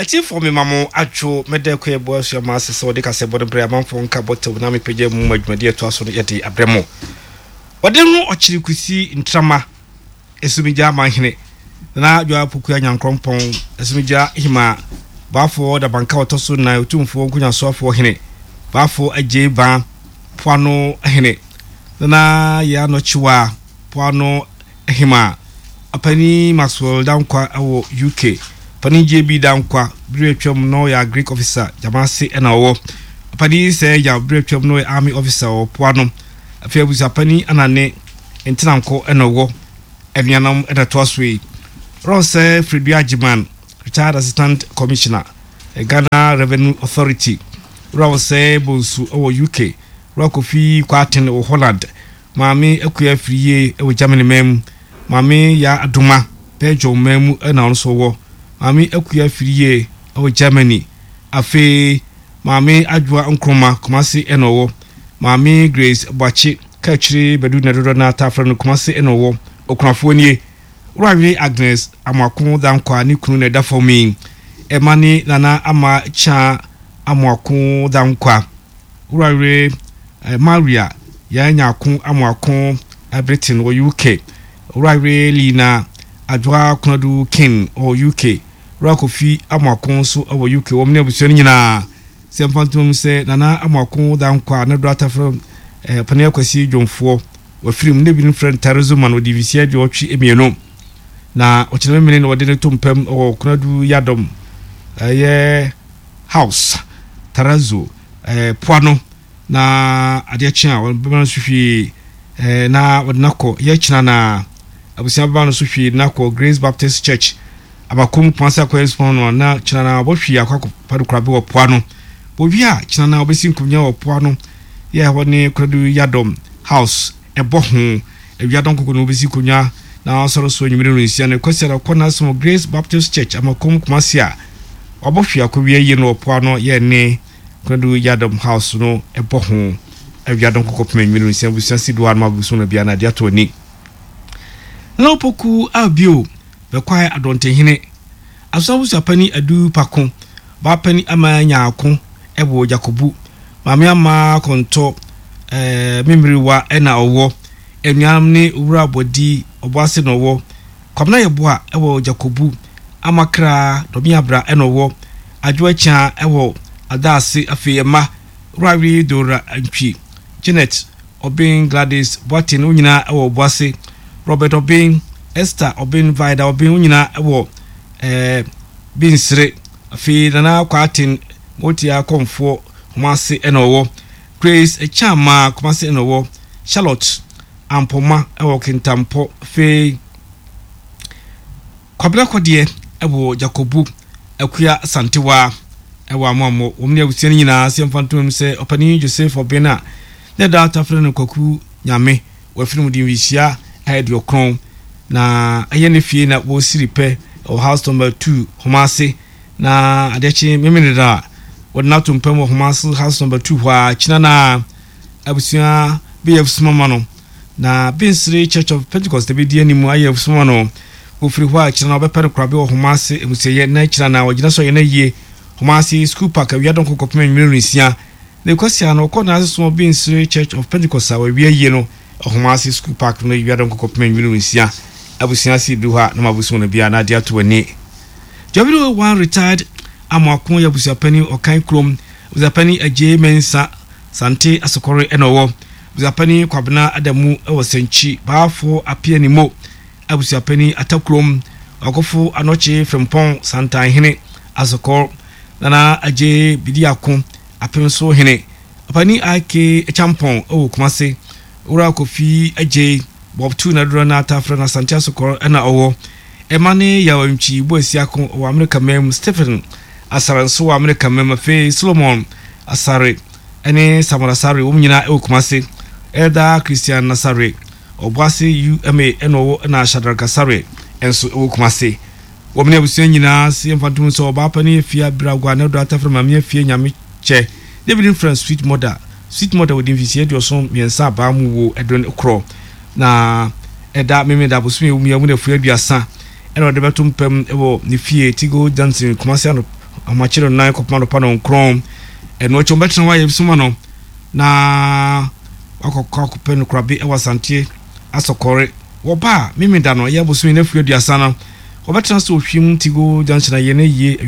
Atiefoɔ mema mo adwo mɛda akua ɛboa asua ma ase sɛ wɔde kasɛbɔ no brɛ amanfoɔ nka bɔtɛw na mepagya mu ma dwumadi ɛtoa so no yɛde abrɛ mo. Wɔde ho ɔkyere kusi ntrama esumigya amanhene Nana Adwoa Pokua Nyankorɔmpɔn esumigya hima Baafoɔ Dabanka ɔtɔ so nan Otumfoɔ Nkonyasoafoɔ hene Baafoɔ Agyei Baa Poano hene Nana Yaa Nɔkyewa Poano Hemaa Ɔpanin Maxwell Dankwa wɔ UK. Ɔpanin JB Dankwa, bere atwam na ɔyɛ Agric Officer, Gyamase na ɔwɔ. Ɔpanin Sir Yaw, bere atwam na ɔyɛ Army Officer wɔ Poano. Afei Abusuapanin Anane Ntenankɔ na ɔwɔ. Anuanom na ɛtoa so yi. Ronsɛ Fredua Agyeman, Retired Assistant Commissioner, Ghana Revenue Authority. Ronsɛ Bonsu wɔ UK. Wura Kofi Kwarteng wɔ Holland. Maame Akua Afriyie wɔ Germany man mu. Maame Yaa Adoma, Belgium man mu na ɔno nso wɔ. Maame Akua Afriyie wɔ Germany. Afei Maame Adwoa Nkrumah, Kumasi na ɔwɔ. Maame Grace Boakye, Kaakyire Badu na dodoɔ no ara taa frɛ no, Kumasi na ɔwɔ. Okunafoɔ nie. Wura Agnes Amoako Dankwah ne kunu na ɛda fam yi. Ɛma ne Nana Ama Kyaa Amoako Dankwah. Wura Maria Yaa Nyarko Amoako Britain wɔ UK. Wura Lina Adwoa Konadu King wɔ UK. Wura Kofi Amoako nso wɔ UK. Wɔn ne abusua no nyinaa. Sɛ mfa ntoma mu sɛ Nana Amoako Dankwah ne Dora Tafra eh, Panin Akwasi Dwomfoɔ wafiri mu na ebinom frɛ no Tarazo Man ɔdi mfeɛ 82 na ɔkyena memene na wɔde no to mpam wɔ Konadu Yadom ɛyɛ House Tarazo eh, poa no na adeɛ kye a wɔbɛma no so hwee eh, na wɔde no akɔ yɛ kyena na abusua bɛma no so hwee na akɔ Grace Baptist Church abakom Kumasi akɔyɛ nsopɔn no na kyena na wɔbɔ hwee akɔ akɔpa no korabe wɔ poa no wɔwie a kyena na wɔbɛsi nkonnwa wɔ poa no yɛ ɛhɔ ne Koradu Yadom House ɛbɔ ho awia dɔn koko na wɔbɛsi nkonnwa na asɔre so anwummere no nsia no kwasi ara kɔ n'asom Grace Baptist Church amakom Kumasi a wɔabɔ hwee akɔwie yie no wɔ poa no yɛ ne Konadu Yadom House no bɔ ho awia dɔn kɔkɔ pem anwummere nsia abusua si do anom abusu no bia na ade ato ani. Nana Opoku a bio bɛkwae Adɔntehene Aso abusuapani Adu Pako Baapani Ama Nyaako wɔ Jakobu Maame Ama Kɔntɔ eh, Memiriwa na ɔwɔ anuanom ne Owura Bɔdi Ɔboase na ɔwɔ Kwabena Yeboah wɔ Jakobu, Amakra Dɔmeabra na ɔwɔ Adwo Akyea wɔ Adaase afei mma Wurawe Dora Antwi, Janet Obeng Gladys Boateng wɔn nyinaa wɔ Obuase, Robert Obeng, Esther Obeng Vida Obeng wɔn nyinaa wɔ eh, Binsere afei Nana Kwarteng Motia Kɔmfoɔ Kumase na ɔwɔ Grace Akyama Kumase na ɔwɔ Charlotte Ampoma wɔ Kintampo, afei Kwabena Kɔdeɛ wɔ Jakobu, Akua Asantewaa wɔ Amoammɔ. Wɔn ne abusua no nyinaa sɛ mfa ntom sɛ ɔpanin Joseph Ɔben a ne da tafere no Kwaku Nyame wafiri mu de mfirihyia 90 na ɛyɛ ne fie na wɔsiri pɛ wɔ house number 2 Homase na adeɛ kye Memeneda a wɔde no ato mpam wɔ Homase house number 2 hɔ a kyina na Abusua bɛyɛ afusuma ma no, na Bensere Church of Pentecost bɛdi anim ayɛ afusuma ma no. Wɔfiri hɔ a, kyena na wɔbɛpɛ no korabea wɔ Homase amusieyɛ, na kyena na wɔgyina so ayɛ no ayie Homase School Park awia dɔnko kɔpem anwummere nnɔnsia. Na Kwasiada no, wɔkɔ n'ase som wɔ Bensere Church of Pentecost a wɔawie ayie no wɔ Homase School Park no awia dɔnko kɔpem anwummere nnɔnsia. Abusua ase du hɔ a, na moabɛsom no biara na ade ato w'ani. Jɔbiri 1 Retired Amoako yɛ abusuapanin Ɔkan kurom abusuapanin Agyei Mensah Sante Asokore na ɔwɔ. Abusuapanin Kwabena Adamu wɔ Sɛnkyi, Baafo Apianimo, Abusuapanin Atakurom, Ɔkofo Anɔkye Frimpong Santanhene, Asokor, Nana Agyei Bidiako, Apemso Hene, Ɔpanin IK Acheampong wɔ Kumase, Owura Kofi Agyei, Bob Tu na dodoɔ no ara taa frɛ no Asante Asokor na ɔwɔ. Ɛma ne Yaw Antwi Boasiako wɔ Amerika man mu, Stephen Asare nso wɔ Amerika man mu, afei Solomon Asare ne Samuel Asare wɔn nyinaa wɔ Kumase, Elder Christian Asare Ɔboase UMA na ɔwɔ na Shadrack Asare nso wɔ Kumase. Wɔn ne abusua nyinaa se yɛmfa ntom sɛ ɔbaa pa ne Afia Biragwa ne Ɔdɔ Atafere Maame Afia Nyame Kyɛ David Mfrɛ Sweet Mother Sweet Mother wɔdi mfirihyia 73 abaa mu wo ɛdon korɔ na ɛda Memeneda bosome a ɛwɔ mu yi mu na afua 30 ɛna ɔde bɛto mpam wɔ ne fie Tigo Junction Kumasi ano. Ahomakye no nan kɔpem anɔpa nɔnkrɔn. Ɛno akyi wɔbɛtena hɔ ayɛ soma no na wakɔkɔ akɔpɛ no korabe wɔ Asanteɛ Asɔkɔre. Wɔba a, Memeda no, ɛyɛ bosome no afiri 30 no, wɔbɛtena ase wɔ Hwim Tigo Junction ayɛ no yie.